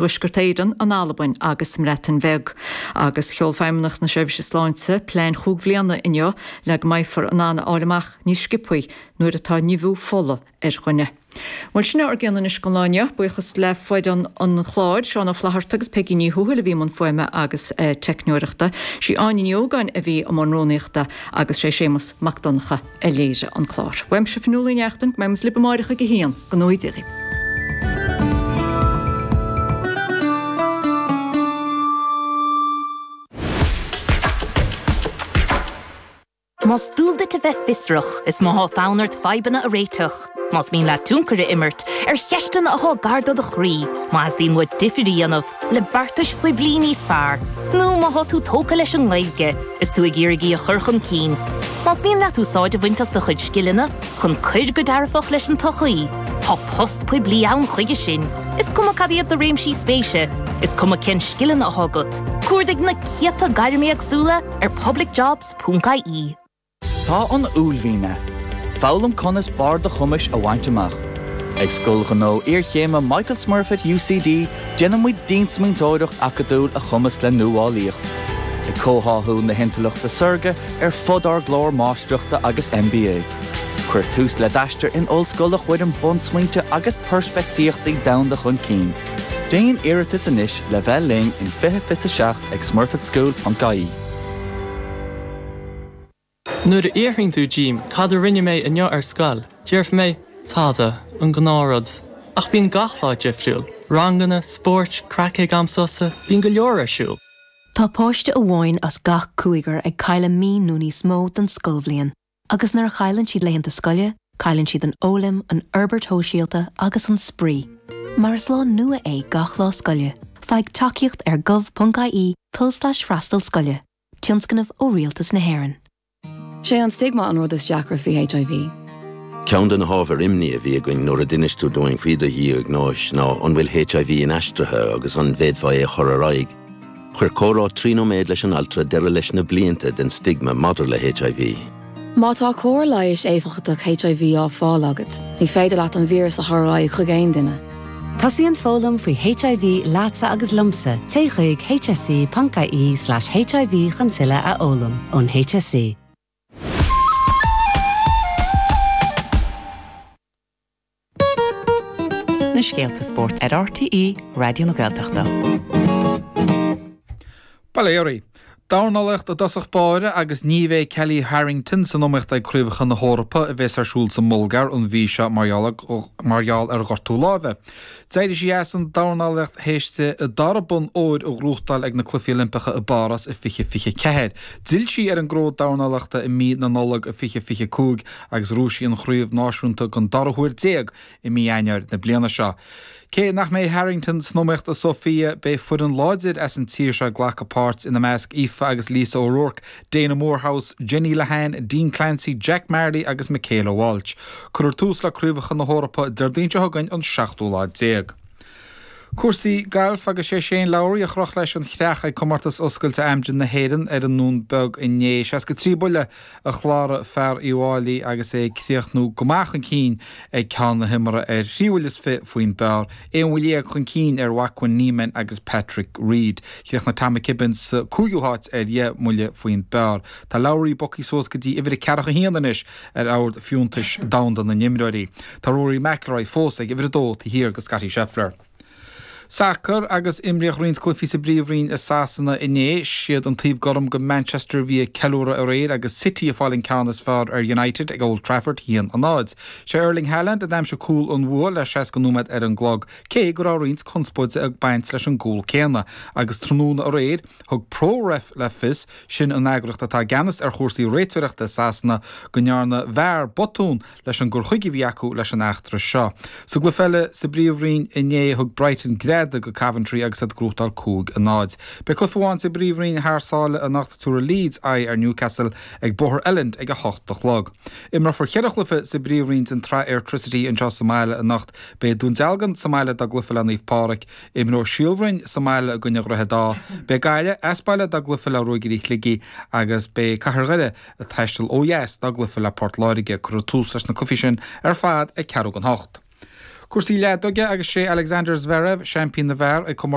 Tuaisceart Éireann, an Albain agus sa mBreatain Bheag. Agus sheol Feidhmeannacht na Seirbhíse Sláinte plean chúig bhliana inniu le go mbeifear in ann a fháil amach níos sciobthaí nuair atá nimhiú fola ar dhuine. Bhuel, sin é ár gcion anois don lá inniu. Buíochas le foireann an chláir, Seán Ó Flatharta agus Peigí Ní Thuathail a bhí i mbun fuaime agus teicneoireachta. Sí Áine Ní Ógáin a bhí i mbun rúnaíochta agus sé Séamus Mac Donncha a léirigh an clár. Uaimse Fionnuala Ní Neachtain, go mbeidh muid libh amáireach ag a haon. Go ngnóthaí Dia dhaoibh. Más dual duit a bheith fiosrach, is má thá fonn ort fadhbanna a réiteach, más mian leat tionchar a imirt ar cheisteanna athá gar do do chroí, má theastaíonn uait difir a dhéanamh le beartais phoiblí níos fearr, nó má thá tú tógtha leis an nGaeilge is tú ag iarraidh í a chur chun cinn, más mian leat úsáid a bhaint as do chuid scileanna chun cuir go dearfach leis an tsochaí, tá post poiblí ann chuige sin. Is cuma cad iad do réimsí spéise, is cuma cén scileanna athá agat, cuardaigh na céadta gairm éagsúla ar publicjobs.ie. Tá an uaillmhian agat. Foghlaim conas barr do chumais a bhaint amach. Ag Scoil Ghnó Iarchéime Michael Smurfit UCD déanann muid diansmaointeoireacht acadúil a chumasc le nuálaíocht, ag comhtháthú na hintleachta saorga ar fud ár gclár Máistreachta agus MBA. Cuir tús le d'aistear in ollscoil a chuireann bunsmaointe agus peirspictíochtaí domhanda chun cinn. Déan iarratas anois le bheith linn in 2027 ag smurfitschool.ie. Nuair a fhiafraíonn tú díom cad a rinne mé inniu ar scoil, déarfaidh mé, tada, an gnáthrud. Ach bíonn gach lá difriúil, ranganna, spóirt, craic ag am sosa, bíonn go leor ar siúl. Tá páiste amháin as gach cúigear ag cailleadh mí nó níos mó den scoilbhliain. Agus nuair a chailleann siad laethanta scoile, cailleann siad an fhoghlaim, an fhorbairt shóisialta agus an spraoi. Mar is lá nua é gach lá scoile, faigh tacaíocht ar gov.ie tulslais freastal scoile, tionscnamh ó Rialtas na hÉireann. Sé an stigma an rud is deacra faoi HIV. Ceann de na hábhair imní a bhí againn nuair a d'inis tú dúinn faoi do dhiagnóis ná an bhfuil HIV inaistrithe agus an bhféadfá é a chur ar aghaidh. Chuir comhrá 3 nóiméad leis an altra deireadh leis na blianta den stigma maidir le HIV. Má tá cóir leighis éifeachtach HIV á fáil agat, ní féidir leat an víreas a chur ar aghaidh chuig aon duine. Tosaíonn foghlaim faoi HIV leatsa agus liomsa, téigh chuig hse.ie/hiv chun tuilleadh a fhoghlaim ón HSE. Na scéalta spóirt ar RTÉ Raidió na Gaeltachta. Bail ó Dhia oraibh. Dornálaíocht i dtosach báire agus ní bheidh Kellie Harrington san iomaíocht ag Craobhacha na hEorpa a bheas ar siúl sa mBulgáir an mhí seo mar gheall ar ghortú láimhe. D'éirigh sí as an dornálaíocht théis di a dara bonn óir a ghnóthachtáil ag na Cluichí Oilimpeacha i bPáras i 2024. D'fhill sí ar an gcró dornálaíochta i mí na Nollag i 2025 agus ghnóthaigh sí an chraobh náisiúnta den dara huair i mí Eanáir na bliana seo. Cé nach mbeidh Harrington san iomaíocht i Sofia, beidh foireann láidir as an tír seo ag glacadh páirt, ina measc Aoife agus Lisa O'Rourke, Dana Moorhouse, Jenny Lehane, Dean Clancy, Jack Marley agus Michaela Walsh. Cuirfear tús le Craobhacha na hEorpa Déardaoin seo chugainn an seachtú lá déag. Cúrsaí gailf agus sé Shane Lowry a chroch leis an chreach ag Comórtas Oscailte Amgen na hÉireann ar an nDún Beag inné. 63 buille a chláraigh fear Uíbh Fhailí agus é ag críochnú go maith chun cinn ag ceann na himeartha ar thrí bhuille is fi faoin bpar, 11 bhuille chun cinn ar Joaquin Niemann agus Patrick Reed. Chríochnaigh Tom McKibbin sa cúigiú háit ar dheich mbuille faoin bpar. Tá Lowry bogtha suas go dtí uimhir a ceathracha haon anois ar ord fiúntais domhanda na n-imreoirí. Tá Rory McIlroy fós ag uimhir a dó taobh thiar de Scottie Scheffler. Sacar agus imríodh roinnt cluichí sa bPríomhroinn i Sasana inné. Siad an taobh gorm go Manchester a bhí ag ceiliúradh aréir agus City ag fáil an ceann is fearr ar United ag Old Trafford, 1-0. Sé Erling Haaland a d'aimsigh cúl an bhua le 60 nóiméad ar an gclog, cé go raibh roinnt conspóide ag baint leis an gcúl céanna. Agus tráthnóna aréir, thug Pro-Ref le fios, sin an eagraíocht atá i gceannas ar chúrsaí réiteoireachta i Sasana, go ndearna VAR botún leis an gcur chuige a bhí acu leis an eachtra seo. Sa gcluiche eile sa bPríomhroinn inné thug Brighton greadadh go Coventry agus iad ag gnóthachtáil 5-0. Beidh cluiche amháin sa bPríomhroinn thar sáile anocht tabharfaidh Leeds aghaidh ar Newcastle ag Bóthar Elland ag 8 a chlog. Imreofar cheithre chluiche sa bPríomhroinn den tSraith Airtricity anseo sa mbaile anocht. Beidh Dún Dealgan sa mbaile dá gcluiche le Naomh Pádraig. Imreoidh Síol Bhroin sa mbaile i gcoinne Dhroichead Átha. Beidh Gaillimh as baile dá gcluiche le Ruagairí Shligigh agus beidh Cathair Dhoire ag taisteal ó dheas dá gcluiche le Port Láirge. Cuirfear tús leis na cluichí sin ar fad ag ceathrú don hocht. Cúrsaí leadóige agus sé Alexander Zverev seaimpín na bhfear ag comórtas.